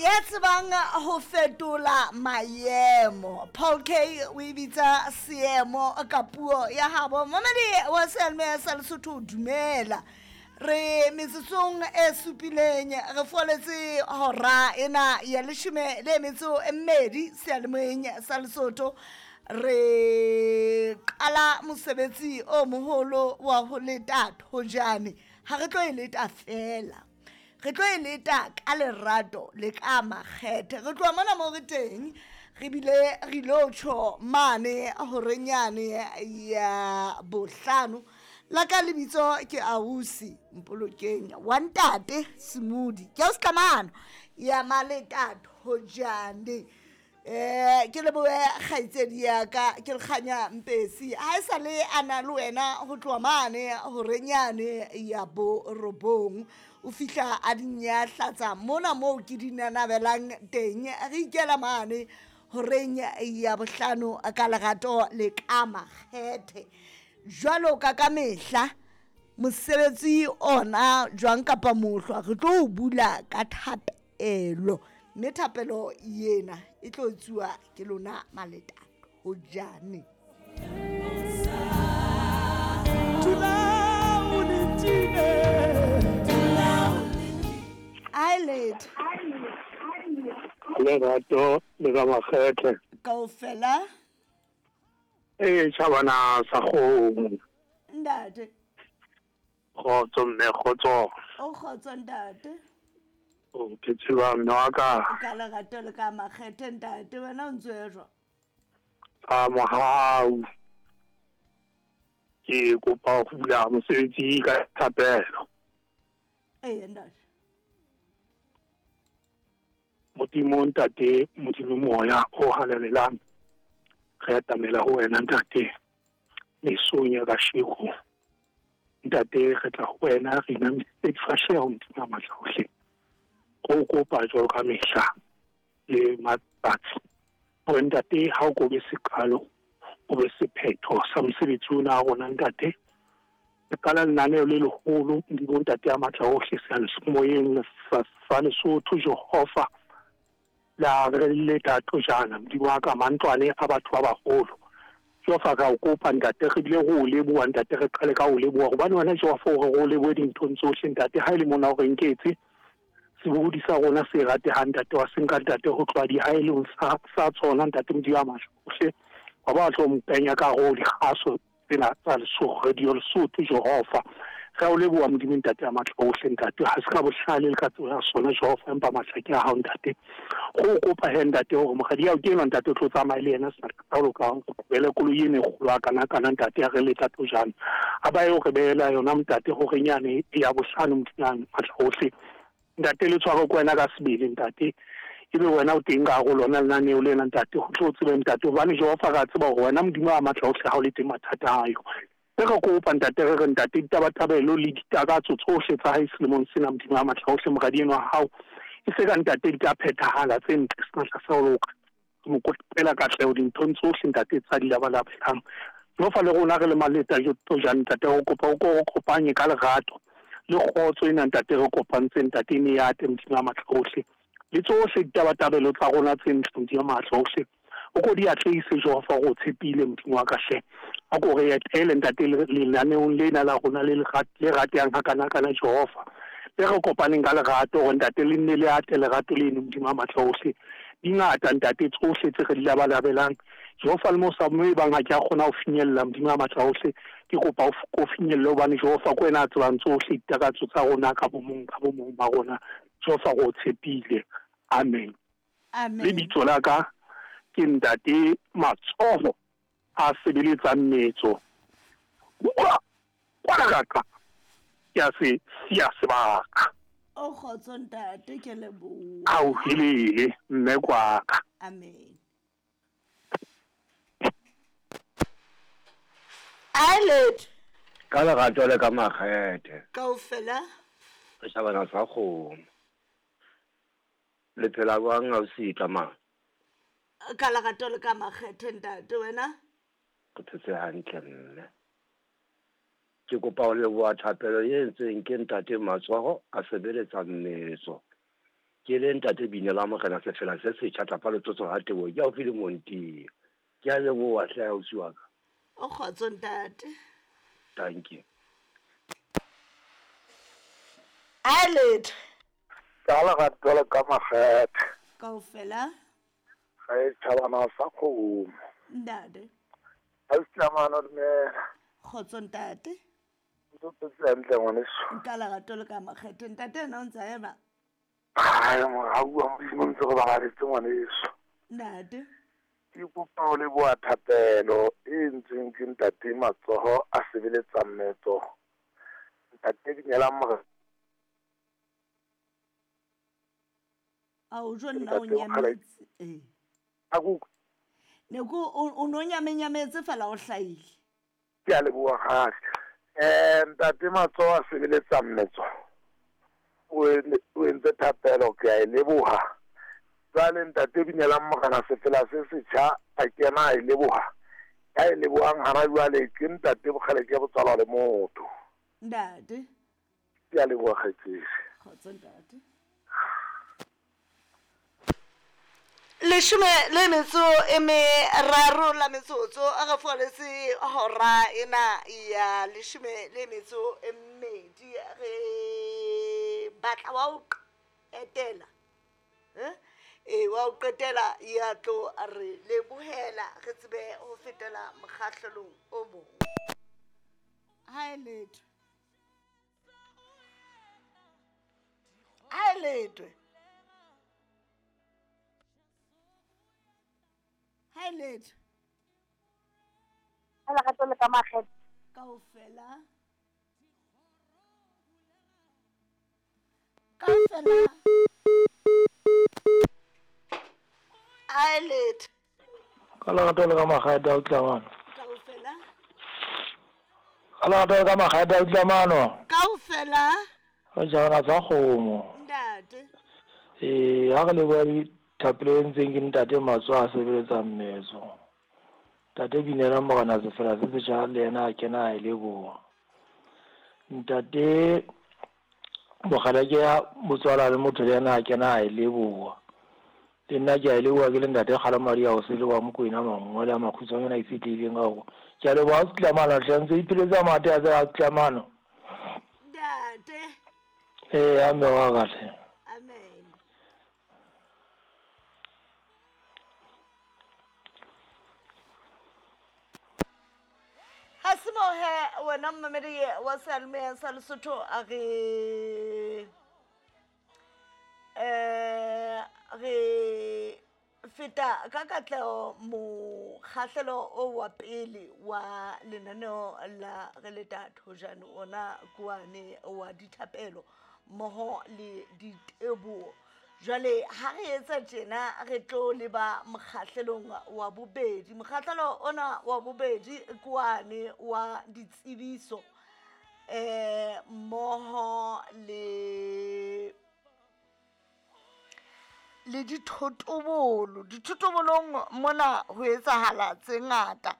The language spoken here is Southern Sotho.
Ya tsebang ho fetola maemo. Paul K o e bitsa seemo ka puo ya habo. Momedi wa seyalemoya sa Lesotho dumela. Re metsotsong e supileng re foletse hora ena ya leshome le metso e mmedi seyalemoyeng sa Lesotho. Re qala mosebetsi o moholo wa ho leta thojane. Ha re tlo e leta fela. Re tlo e leta ka lerato le ka makgethe. Re tloha mona mo re teng re bile re ilo tjho mane horenyane ya bohlano. La ka lebitso ke Ausi Mpolokeng wa ntate Semudi. Ke ausi Tlamano ya Maleta Thojane. Ke lebohe kgaitsedi ya ka ke lekganya Mpesi ha e sa le a na le wena ho tloha mane horenyane ya borobong. O fihla a di nyahlatsa mona moo ke di nanabelang teng. Re ikela mane horeng ya bohlano ka lerato le ka makgethe. Jwalo ka ka mehla mosebetsi ona jwang kapa mohlwa re tlo o bula ka thapelo. Mme thapelo yena e tlo etsuwa ke lona Maleta Thojane. Eyelid. Lerato le ka makgethe. Kaofela. Ee, tjhabana sa kgomo. Ntate. Kgotso mme, kgotso. O kgotso ntate. O ke tseba mme wa ka. Ka lerato le ka makgethe ntate, wena o ntse o jwang? Ka mohau. Ke kopa ho bula mosebetsi ka thapelo. Ee ntate. Modimo ntate, Modimo moya o halalelang. Re atamela ho wena ntate. Mesong ya kasheko. Ntate re tla ho wena re inamisitse difahleho Modimo a matla ohle. Re o kopa jwalo ka mehla le matsatsi. Hore ntate ha o ko be seqalo, o be sephetho sa mosebetsi ona wa rona ntate. Re qala lenaneo le leholo Modimo ntate a matla ohle seyalemoyeng sa Lesotho Jehova. La re leta tojana Modimo wa ka mantlwane a batho ba baholo. Jehova re a o kopa ntate re bile re o leboha ntate re qale ka o leboha hobane wena Jehova o re re o lebohe dinthong tsohle ntate ha e le mona o re nketse sebohodi sa rona se ratehang ntate wa se nka ntate ho tloha dihaelong sa tsona ntate Modimo a matla ohle wa ba tlo mpenya ka hare ho dikgaso tsena tsa Lesotho radio Lesotho Jehova re a o leboha Modimo ntate a matla ohle ntate ha se ka bohlale le ka tsebo ya sona Jehova empa matla ke a hao ntate go o kopa he ntate hore moradi ao ke enwa ntate o tlo tsamaya le yena sebaka sa ho loka re qobele koloi ena e kgolo a kana kana ntate ya re leta tojana a ba eo re behela yona ntate hore nyane ya bohlano Modimo a matla ohle ntate le tshware ko wena ka sebele ntate ebe wena o teng ka hare ho lona lenaneo lena ntate ho tlo tsebe ntate hobane Jehova re a tseba hore wena Modimo a matla ohle ha o le teng mathata ayo re re kopa ntate re re ntate ditabatabelo le ditakatso tsohle tsa hae selemong sena Modimo a matla ohle moradi enwa wa hao e se ka ntate di ka phethahala tse ntle senatla sa ho loka re mo kopela katleho dinthong tsohle ntate tsa di labalabelang Jehova le rona re le maleta tojane ntate re kopa o ko re kopanye ka lerato le kgotso ena ntate re kopantseng ntate e ne ya ate Modimo a matla ohle le tsohle ditabatabelo tsa rona tse ntle Modimo a matla ohle o ko di atlehise Jehova o tshepile Modimo wa ka hle a ko re etele ntate lenaneong lena la rona le le ratehang hakana kana Jehova le re kopaneng ka lerato hore ntate le nne le ate lerato leno Modimo a matla ohle di ngata ntate tsohle tse re di labalabelang Jehova le mo sa mo e bang ha ke a kgona ho finyella Modimo a matla ohle ke kopa o finyelle hobane Jehova ke wena a tsebang tsohle ditakatso tsa rona ka bomong ba rona Jehova re o tshepile amen. Amen. Lebitso la ka ke ntate Matsoho a sebeletsang metso kwa ka ke a se siya sebaka. O kgotso ntate ke leboha. A o helele mme kwaka. Amen. Eyelid. Ka lerato le ka makgethe. Kaofela. Re shabana sa kgomo. Le phela jwang ausi Tlamang? Ka lerato le ka makgethe ntate wena? Re phetse hantle mme. Ke kopa ho leboha thapelo e entsweng ke ntate Matsoho a sebeletsa mmetso. Ke le ntate Binela Morena Sefela se setjha tlapa letsotso ha teboho ke haufi le Montiyo. Ke a leboha hle ausi wa ka. O kgotso ntate. Dankie. A letho. Ka lerato le ka makgethe. Kaofela. Ga e tšhabana sa kgomo. Ntate. Ausi Tlamano dumela. Kgotso ntate. Ntse o phetse hantle ngwaneso. Ka lerato le ka makgethe ntate ena o ntse a ema. Ai morau wa Modimo ntse re babaletse ngwaneso. Ntate. Ke kopa ho leboha thapelo e entsweng ke ntate Matsoho a sebeletsang metso. Ntate dumelang morena. A o jo nna o nyametse. Eh. A ku. Ne ku o no nyamenyametse fela o hlahile. Ke a leboha kgale. Ntate Matsoho a sebeletsang metso. O entse thapelo ke a e leboha. Jwale ntate Binelang Morena Sefela se setjha a kena a e leboha. Ya e lebohang hana jwale ke ntate Bokgeleke botswalwa le motho. Ntate. Ke a leboha kgaitsedi. Kgotso ntate. Leshome le metso e meraro la metsotso a re foletse hora ena ya leshome le metso e mmedi re batla wa o qetela e wa o qetela ya tlo re lebohela re tsebe ho fetela mokgahlelong o mong. Ha e letho. Ha e letho. Ha e letho. Ka lerato le ka makgethe. Kaofela. Kaofela. Ha e letho. Ka lerato le ka makgethe a utlamano. Kaofela. Ka lerato le ka makgethe a utlamano. Kaofela. Re jana tsa kgomo. Ntate. Eh, ha re leboha thapelo e ntseng ke ntate Matsoho a sebeletsang metso. Ntate Binela Morena Sefela se setjha le yena a kena a e leboha. Ntate Bokgeleke ya botswala le motho le yena a kena a e leboha. Le nna ke a e leboha ke le ntate Kgalemadi a o sele wa Mokwena mangole a makgutshwanyana a itshetlehileng ka hore ke a leboha Setlamano hle ntse ipheletsa mate a tsela Setlamano. Ntate. Eh, amen wa ka hle. Amen. Ha se moo he wena mmamedi wa seyalemoya sa Lesotho a re re feta ka katleho mokgahlelo o wa pele wa lenaneo la re le thojane ona kwane wa dithapelo mmoho le diteboho. Jwale ha re etsa tjena re tlo leba mokgahlelong wa bobedi. Mokgahlelo ona wa bobedi ke wane wa ditsebiso mmoho le le dithotobolo. Dithotobolong mona ho etsahala tse ngata.